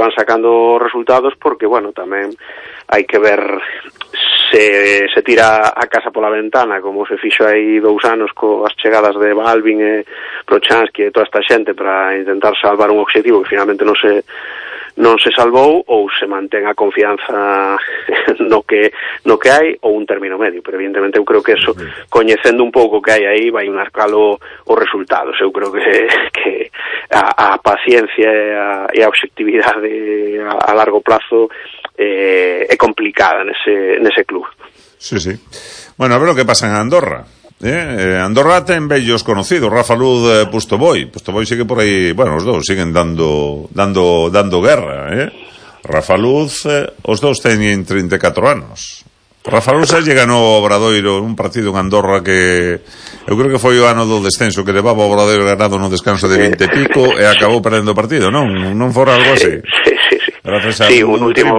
van sacando resultados, porque, bueno, tamén hai que ver se tira a casa pola ventana, como se fixo aí 2 anos coas chegadas de Balvin e Prochansky e toda esta xente para intentar salvar un obxectivo que finalmente non se salvou, ou se mantén a confianza no que hai, ou un término medio. Pero evidentemente eu creo que eso, coñecendo un pouco o que hai aí, vai marcalo os resultados. Eu creo que a paciencia e a obxectividade a largo plazo é complicada nese club. Sí. Bueno, a ver o que pasa en Andorra. Andorra ten vellos conocidos, Rafa Luz, Pustoboi sigue por aí, bueno, os dous siguen dando guerra, Rafa Luz, os dous teñen 34 anos. Rafa Luz lle ganou ao Obradoiro un partido en Andorra que eu creo que foi o ano do descenso, que levaba o Obradoiro ganado no descanso de 20 e pico e acabou perdendo o partido, non fora algo así? Sí, un último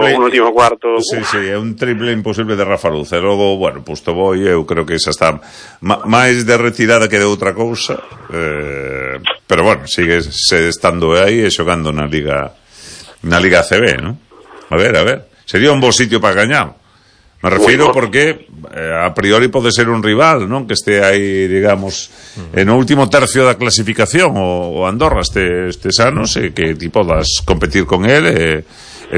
cuarto. Sí, é un triple imposible de Rafa Luz. E logo, bueno, Pustoboi, eu creo que esa está máis de retirada que de outra cousa, pero bueno, sigue estando aí e xogando na Liga ACB, ¿no? A ver, sería un bo sitio para gañar. Me refiro porque a priori pode ser un rival, non? Que este aí, digamos, no último tercio da clasificación, o Andorra estes anos, e que ti podas competir con el, e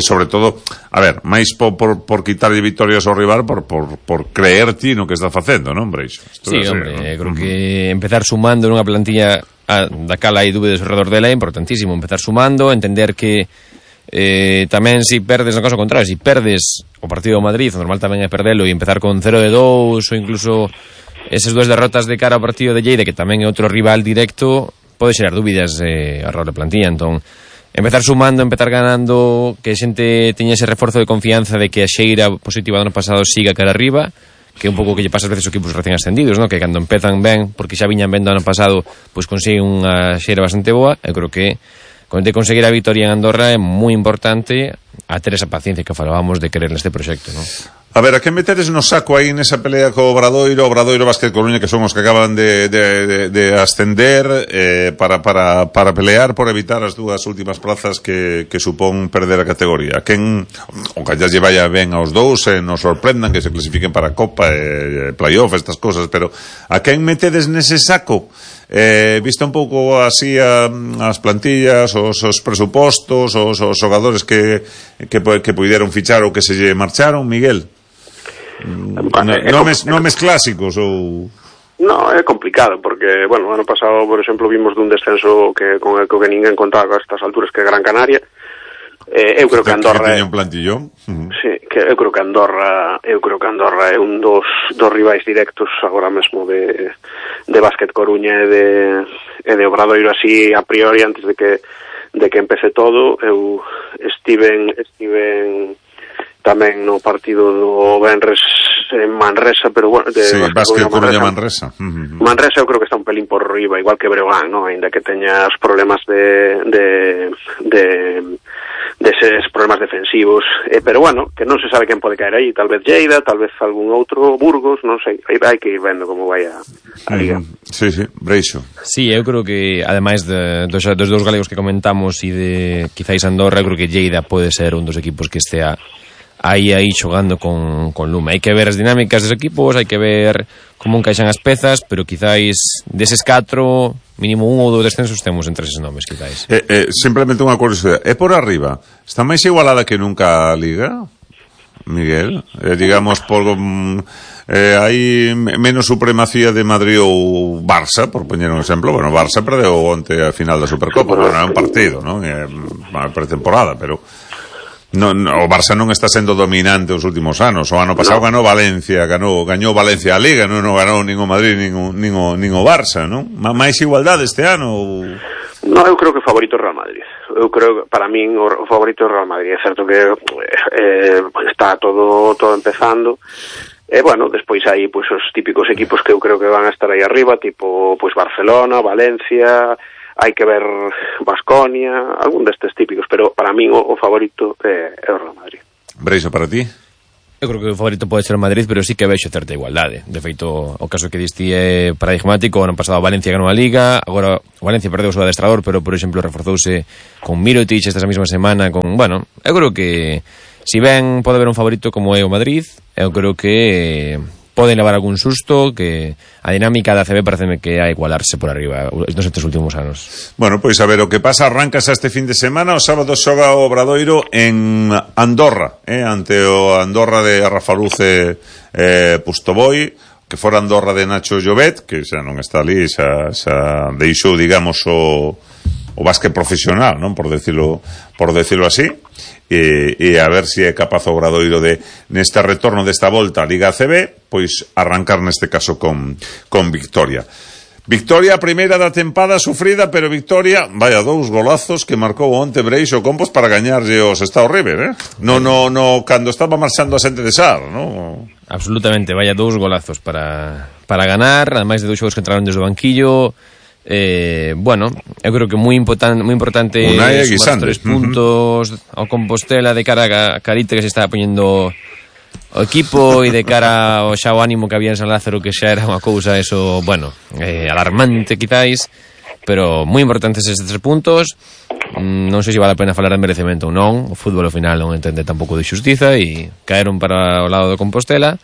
sobre todo, a ver, máis por quitarlle victorias ao rival, por creer ti no que está facendo, non, Breixo? Sí, hombre, creo que empezar sumando nunha plantilla da cal hai dúbidas ao redor dela é importantísimo, empezar sumando, entender que tamén se perdes, no caso contrario, se perdes o partido do Madrid, o normal tamén é perdelo e empezar con 0-2 ou incluso esas 2 derrotas de cara ao partido de Lleida, que tamén é outro rival directo, pode xerar dúbidas ao redor de plantilla. Entón, empezar sumando, empezar ganando, que a xente teña ese reforzo de confianza de que a xeira positiva do ano pasado siga cara arriba, que é un pouco que lle pasa ás veces aos equipos recén ascendidos, ¿no? Que cando empezan ben, porque xa viñan ben do ano pasado, pois consiguen unha xeira bastante boa. Eu creo que de conseguir a victoria en Andorra é moi importante a ter esa paciencia que falábamos de querer neste proxecto, non? A ver, a que meteres no saco aí nesa pelea co Obradoiro Basket Coruña, que son os que acaban de ascender, para pelear por evitar as 2 últimas plazas que supón perder a categoría? A quen, o que ya lle vaya ben aos dous, nos sorprendan que se clasifiquen para a Copa, playoff, estas cosas, pero a quen metedes nese saco? Visto un pouco así as plantillas, os presupostos, os xogadores que puideron fichar ou que se lle marcharon, Miguel? Nomes clásicos ou... No, é complicado, porque, bueno, o ano pasado, por exemplo, vimos dun descenso con el que ninguén contaba a estas alturas, que é Gran Canaria. Eu creo que Andorra teña un plantillón. Sí, que eu creo que Andorra é un dos rivais directos agora mesmo de Basket Coruña e de Obradoiro, así a priori, antes de que empece todo. Eu estiven tamén no partido do Benres en Manresa, pero bueno, Basket Coruña Manresa. Manresa eu creo que está un pelín por riba, igual que Breogán, ¿no? Ainda que teña os problemas deses problemas defensivos, pero bueno, que non se sabe quen pode caer aí, tal vez Lleida, tal vez algún outro, Burgos, non sei, hai que ir vendo como vai a liga. Sí, Breixo. Sí, eu creo que ademais dos 2 galegos que comentamos e de quizáis Andorra, eu creo que Lleida pode ser un dos equipos que estea aí xogando con lume. Hai que ver as dinámicas dos equipos, hai que ver como encaixan as pezas, pero quizáis deses 4, mínimo 1 ou 2 descensos temos entre eses nomes, quizáis. Simplemente unha curiosidade, é por arriba, está máis igualada que nunca a Liga, Miguel? Digamos, hai menos supremacía de Madrid ou Barça, por poñer un exemplo. Bueno, Barça perdeu onte a final da Supercopa, non é un partido, non? É unha pretemporada, pero o Barça non está sendo dominante os últimos anos. O ano pasado gañou Valencia a Liga, non ganou nin o Madrid nin o Barça, non? Máis igualdade este ano? No, eu creo que o favorito é Real Madrid. Eu creo que para min o favorito é Real Madrid. É certo que está todo empezando. Bueno, despois hai pois os típicos equipos que eu creo que van a estar aí arriba, tipo pois Barcelona, Valencia, hai que ver Baskonia, algún destes típicos, pero para min o favorito é o Real Madrid. Breixo, para ti? Eu creo que o favorito pode ser o Madrid, pero sí que vexo certa igualdade. De feito, o caso que diste é paradigmático. O ano pasado Valencia ganou a Liga, agora Valencia perdeu o seu adestrador, pero, por exemplo, reforzouse con Mirotic esta mesma semana. Bueno, eu creo que si ben pode haber un favorito como é o Madrid, eu creo que poden levar algún susto, que a dinámica da ACB pareceme que a igualarse por arriba nos estes últimos anos. Bueno, pois a ver o que pasa. Arrancas este fin de semana. O sábado xoga o Obradoiro en Andorra, ante o Andorra de Rafaluce Pustoboi, que fora Andorra de Nacho Llobet, que xa non está ali, xa deixou, digamos, o básquet profesional, non, por decirlo así. E a ver se é capaz o Obradoiro de, neste retorno desta volta a Liga ACB, pois arrancar neste caso con victoria. Victoria primeira da tempada sufrida, pero victoria, vaya, 2 golazos que marcou onte Breixo Compos para gañarlle o Sestao River, no, cando estaba marchando a Xente de Sar, no? Absolutamente, vaya, 2 golazos para ganar, ademais de 2 xogos que entraron desde o banquillo. Bueno, eu creo que moi importante sumar 3 puntos ao Compostela de cara a Carite, que se está poñendo o equipo, e de cara ao xa o ánimo que había en San Lázaro, que xa era unha cousa eso, bueno, alarmante quizáis, pero moi importantes estes 3 puntos. Non sei se vale a pena falar de merecemento ou non. O fútbol ao final non entende tampouco de xustiza e caeron para o lado do Compostela.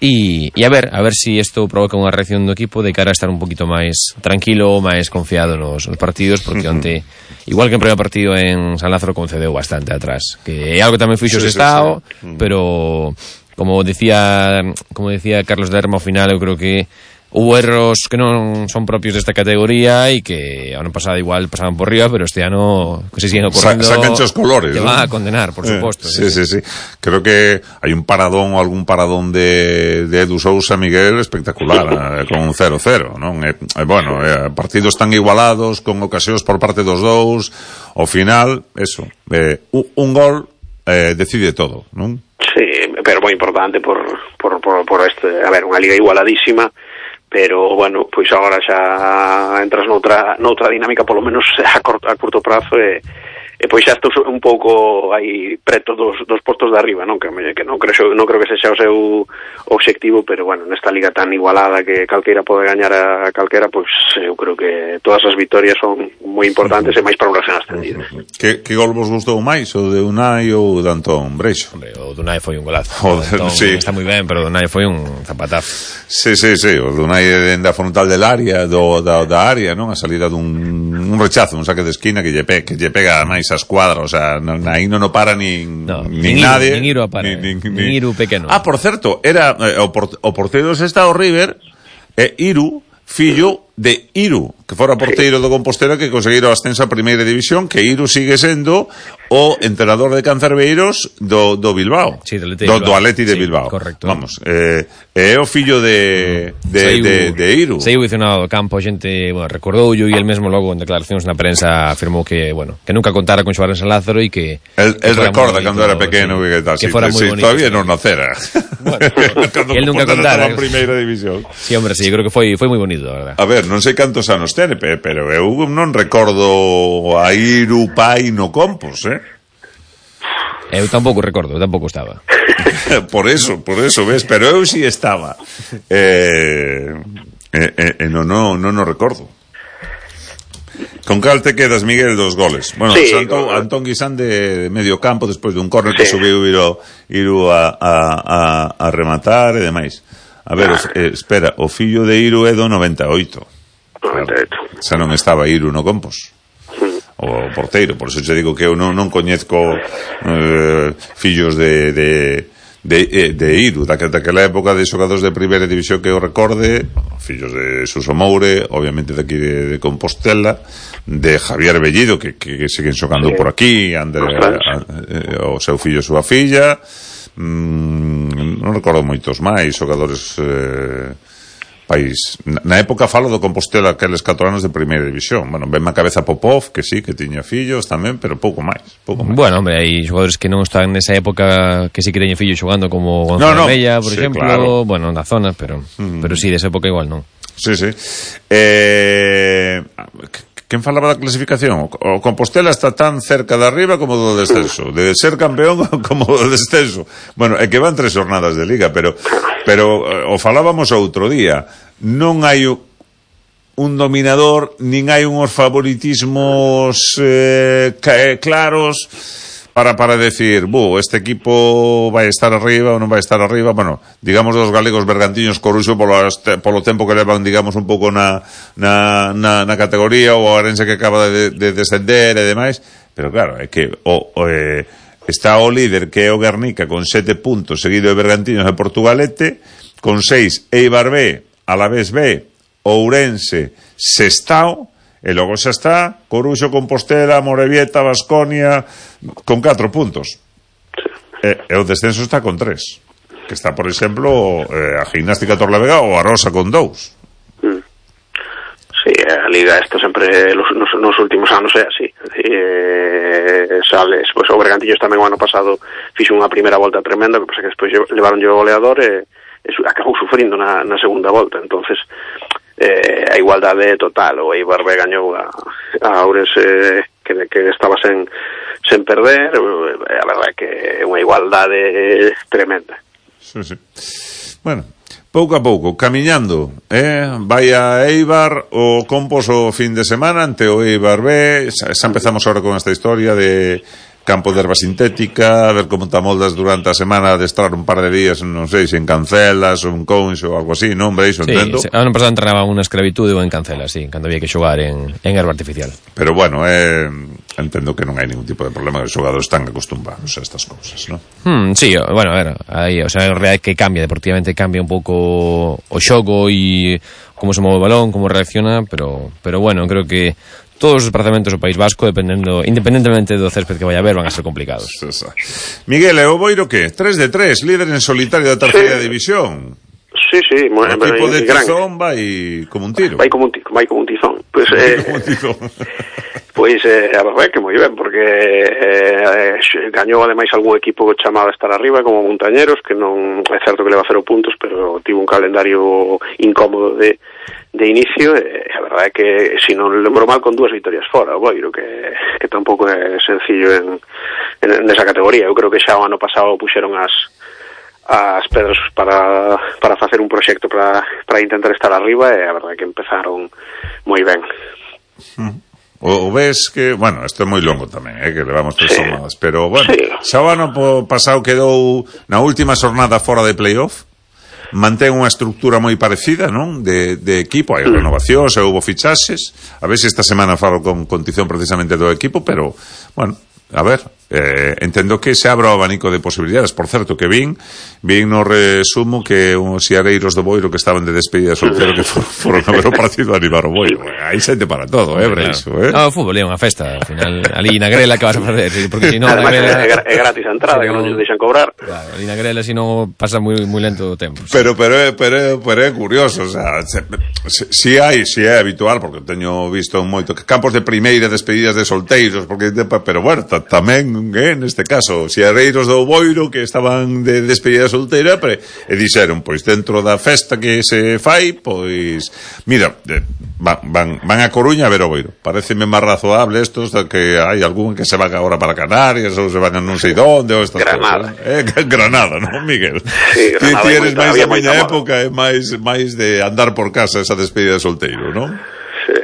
E a ver si isto provoca unha reacción do equipo de cara a estar un poquito máis tranquilo, máis confiado nos partidos, porque onte, igual que en primeiro partido en San Lázaro, concedeu bastante atrás, que é algo que tamén fixo o Sestao, pero como decía Carlos Derma, ao final eu creo que hubo erros que non son propios desta categoría e que ano pasado igual pasaban por riba, pero este ano que se siguen ocorrendo sacan os colores, te van a condenar, por suposto. Sí. Creo que hai un paradón ou algún paradón de Edu Sousa, Miguel, espectacular, con un 0-0, non? Bueno, partidos tan igualados, con ocasións por parte dos dous, ao final, eso, un gol decide todo, non? Sí, pero moi importante por este, a ver, unha liga igualadísima, pero, bueno, pois agora xa entras noutra dinámica, polo menos a curto prazo, e pois xa estou un pouco aí preto dos postos de arriba, non? Que non creo que sexa o seu obxectivo, pero, bueno, nesta liga tan igualada que calqueira pode gañar a calquera, pois eu creo que todas as vitorias son moi importantes e máis para un recién ascendido. Que gol vos gustou máis, o de Unai ou o de Antón Breixo? Hombre, o de Unai foi un golazo. Antón está moi ben, pero o de Unai foi un zapatazo. Sí, o de Unai dende a frontal del área, da área, non? A salida dun rechazo, un saque de esquina que lle pega máis a escuadra, o sea, aí non o para nin nadie, nin Iru a para, nin Iru pequeno. Por certo, era o porteiro do Sestao River, Iru, fillo de Iru, que fora porteiro do Compostela, que conseguiron o ascenso a primeira división, que Iru sigue sendo o entrenador de Cancerbeiros do Bilbao, sí, do Atleti de Bilbao. Correcto. Vamos, é o fillo de Iru. Saiu visionado do campo, a xente, bueno, recordoulle, e el mesmo logo en declaracións na prensa afirmou que, bueno, que nunca contara con xogar en San Lázaro e que el recorda cando era pequeno, sí, que tal, que fora moi bonito. Todavía non nacera. Bueno, el nunca contara en primeira división. Sí, hombre, sí, creo que foi moi bonito, a verdad. A ver, non sei cantos anos ten, pero eu non recordo a Iru pai no Compos, Eu tampouco recordo, eu tampouco estaba. por eso, ves, pero eu si estaba. Non recordo. Con cal te quedas, Miguel, dos goles? Bueno, sí, Antón Guisán de medio campo, despois dun córner que subiu Iru a rematar e demais. A ver, espera, o fillo de Iru é do 98. Xa non estaba Iru no Compos, o porteiro, por eso te digo que eu non coñezco fillos de Iru daquela época, de xogadores de primeira división que eu recorde, fillos de Suso Moure, obviamente daqui de Compostela, de Javier Bellido, que siguen xogando por aquí, o seu fillo e súa filla, non recordo moitos máis xogadores país. Na época falo do Compostela, aqueles 4 anos de primeira división. Bueno, venme a cabeza Popov, que sí, que tiña fillos tamén, pero pouco máis. Bueno, hombre, hai xogadores que non están nesa época que sí que teñen fillos xogando, como Gonzalo Mella, por exemplo, claro. Bueno, na zona, pero sí, desa época igual non. Sí. quen falaba da clasificación? O Compostela está tan cerca de arriba como do descenso, de ser campeón como do descenso. Bueno, é que van 3 jornadas de Liga, pero o falábamos outro día, non hai un dominador, nin hai uns favoritismos claros para decir, este equipo vai estar arriba ou non vai estar arriba. Bueno, digamos dos galegos Bergantiños, Coruxo polo tempo que levan, digamos, un pouco na categoría, ou a Arense que acaba de descender e demais, pero claro, é que está o líder, que é o Guernica, con 7 puntos, seguido de Bergantiños e Portugalete, con 6 Eibar B, Alavés B, Ourense, Sestao, e logo xa está Coruxo, Compostela, Morevieta, Baskonia con 4 puntos, e o descenso está con 3, que está, por exemplo, a Gimnástica Torlavega ou a Rosa con 2. Sí, a Liga esta sempre nos últimos anos é así. Sales, pois o Bergantiños tamén o ano pasado fixo unha primeira volta tremenda, que pasa que despois levaron o goleador e acabou sufrindo na segunda volta. Entonces a igualdade total. O Eibar B gañou a Ourense que estaba sen perder. A verdade é que é unha igualdade tremenda. Sí. Bueno, pouco a pouco, camiñando, vai a Eibar o Compos o fin de semana ante o Eibar B. Xa empezamos ahora con esta historia de campo de erva sintética, a ver como te amoldas durante a semana, de estar un par de días, non sei, se en Cancelas ou en Conxo ou algo así, non? Veis, entendo? Sí, ano pasado entrenaba unha escravitude ou en Cancelas, sí, cando había que xogar en erva artificial. Pero bueno, entendo que non hai ningún tipo de problema, que os xogadores están acostumbrados a estas cousas, non? Sí, bueno, a ver, aí, o sea, en realidad que cambia, deportivamente cambia un pouco o xogo e como se move o balón, como reacciona, pero bueno, creo que todos os desplazamentos do País Vasco, independentemente do césped que vai haber, van a ser complicados. Miguel, e o Boiro que? 3 de 3, líder en solitario da terceira división. Sí, o equipo de Tizón vai como un tiro. Vai como un tizón. Pois a verdade é que moi ben, porque gañou ademais algún equipo chamado a estar arriba, como Montañeros, que non é certo que leva 0 puntos, pero tivo un calendario incómodo de inicio, e a verdade é que, se non lembro mal, con 2 vitorias fora, o Boiro, que tampouco é sencillo nesa categoría. Eu creo que xa o ano pasado puxeron as pedras para facer un proxecto para intentar estar arriba, e a verdade é que empezaron moi ben. O ves que, bueno, isto é moi longo tamén, que levamos 3 jornadas, pero bueno, xa o ano pasado quedou na última xornada fora de playoff, mantén unha estructura moi parecida, non? De equipo, hai renovacións, houve fichaxes, a ver se esta semana falo con Tizón precisamente do equipo, pero, bueno, a ver, entendo que se abra o abanico de posibilidades. Por certo, que vin no resumo que os xiareiros do Boiro que estaban de despedida soltero que foron a ver o partido a animar o Boiro. Aí xente para todo, Breixo, No, o fútbol é unha festa, ao final, ali na grela que vas a facer, porque se non na grela é gratis a entrada, que non nos deixan cobrar. Claro, ali na grela se non pasa moi lento o tempo. Pero é curioso, o sea, si é habitual, porque teño visto moito campos de primeira despedidas de solteiros, pero bueno, tamén neste caso, xereiros do Boiro que estaban de despedida solteira e dixeron, pois dentro da festa que se fai, pois mira, van a Coruña a ver o Boiro. Pareceme máis razoable estos que hai algún que se van agora para Canarias ou se van a non sei donde ou estas Granada. Granada, non, Miguel? Sí, Granada. Ti eres máis da miña época, é máis de andar por casa esa despedida de solteiro, non? Sí.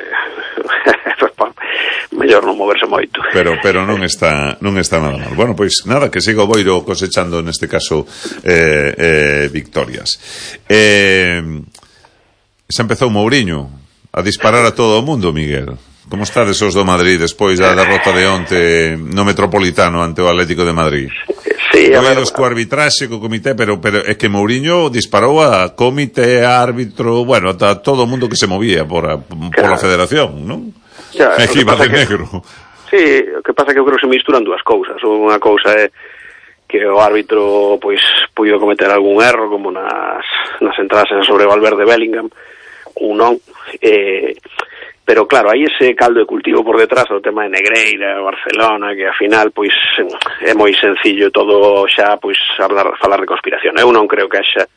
Mellor non moverse moito. Pero non está nada mal. Bueno, pois nada, que siga o Boiro cosechando neste caso victorias. Xa empezou Mourinho a disparar a todo o mundo, Miguel. Como estades os do Madrid despois da derrota de onte no Metropolitano ante o Atlético de Madrid? Sí, Doidos co arbitraxe, co comité, pero é que Mourinho disparou a comité, a árbitro, bueno, a todo o mundo que se movía por a federación, non? Aquí va de negro. Sí, o que pasa é que eu creo que se misturan dúas cousas. Unha cousa é que o árbitro pois puido cometer algún erro, como nas entradas sobre Valverde Bellingham, ou non, pero claro, hai ese caldo de cultivo por detrás do tema de Negreira, Barcelona, que ao final pois é moi sencillo todo xa pois falar de conspiración. Eu non creo que haxa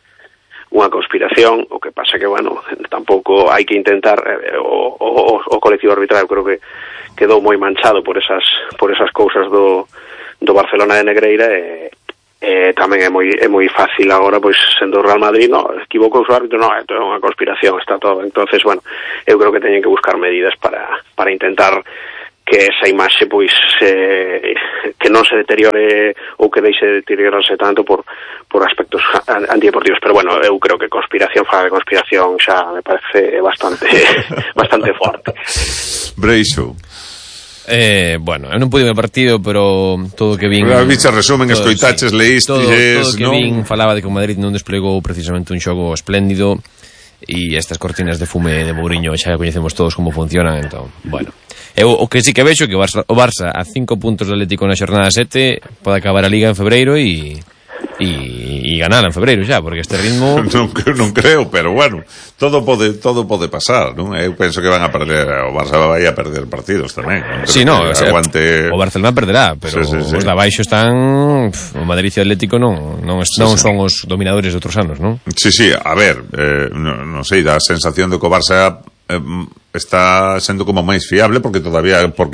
conspiración. O que pasa que, bueno, tampouco hai que intentar o colectivo arbitral creo que quedou moi manchado por esas cousas do Barcelona de Negreira e tamén é moi fácil agora, pois, sendo o Real Madrid, equivocou o árbitro, é unha conspiración, está todo. Entonces, bueno, eu creo que teñen que buscar medidas para intentar que esa imaxe, pois, que non se deteriore ou que deixe de deteriorarse tanto por aspectos antideportivos. Pero, bueno, eu creo que conspiración xa me parece bastante forte. Breixo. Bueno, eu non pude ver o partido, pero todo o que vin... Bicha resumen, escoitaches, leístes... Todo o que vin falaba de que o Madrid non desplegou precisamente un xogo espléndido e estas cortinas de fume de Mourinho xa coñecemos todos como funcionan, entón, bueno... Eu o que sí que vexo que o Barça a 5 puntos do Atlético na xornada 7 pode acabar a Liga en febreiro e ganar en febreiro xa, porque este ritmo non creo, pero bueno, todo pode pasar, non? Eu penso que van a perder, o Barça vai a perder partidos tamén, non? Sí, o Barcelona perderá, pero sí. Os de abaixo están, o Madrid e o Atlético non son os dominadores de outros anos, non? Sí, a ver, non sei, dá a sensación de que o Barça está sendo como máis fiable porque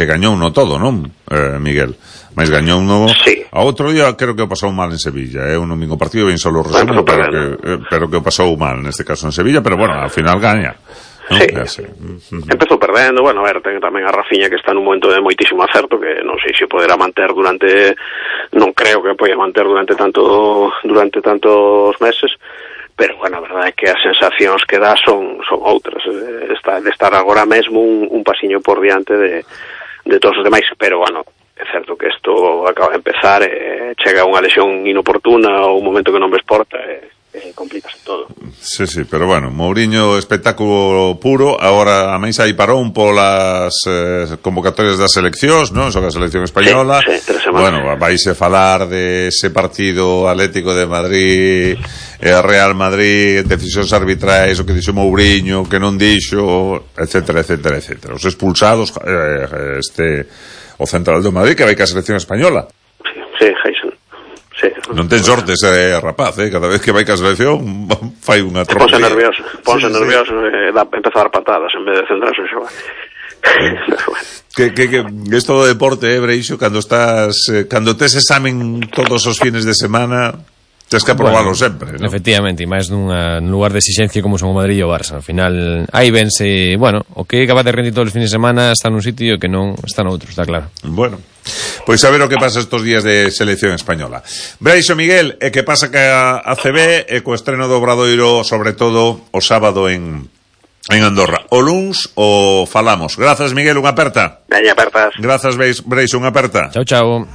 gañou no todo, non, Miguel? Mas gañou no... Sí. A outro día creo que o pasou mal en Sevilla, un domingo partido ben solo resumo, pero que o pasou mal neste caso en Sevilla, pero bueno, ao final gaña. ¿No? Sí, empezou perdendo, bueno, a ver, ten tamén a Rafinha que está nun momento de moitísimo acerto, que non sei se poderá manter non creo que poida manter durante tantos meses, pero, bueno, a verdade é que as sensacións que dá son outras, de estar agora mesmo un pasiño por diante de todos os demais, pero, bueno, é certo que isto acaba de empezar, chega unha lesión inoportuna ou un momento que non ves porta, complícase todo. Sí, pero bueno, Mourinho espectáculo puro. Agora a máis aí parou polas convocatorias das seleccións, non? Son a selección española. Sí, 3 semanas. Bueno, vaise falar de ese partido Atlético de Madrid e Real Madrid, decisións arbitrais, o que dixo Mourinho, que non dixo, etcétera. Os expulsados, o central do Madrid que vai ca selección española. Sí, Heisen. Sí. Non ten sorte ese rapaz, cada vez que vai ca selección fai unha tropa. Ponse nervioso e empeza a dar patadas en vez de centrarse en xogar. Que isto do deporte, Breixo, cando tes examen todos os fines de semana, tens que aprobarlo sempre, ¿no? Efectivamente, e máis nun lugar de exigencia como son o Madrid e o Barça. Al final, aí vense, bueno, o que acaba de rendir todos os fines de semana está nun sitio que non está noutro, está claro. Bueno, pois a ver o que pasa estos días de selección española. Breixo, Miguel, e que pasa que a ACB e co estreno do Obradoiro, sobre todo o sábado en Andorra. O luns o falamos. Grazas, Miguel, unha aperta. Veña, apertas. Grazas, Breixo, unha aperta. Chao.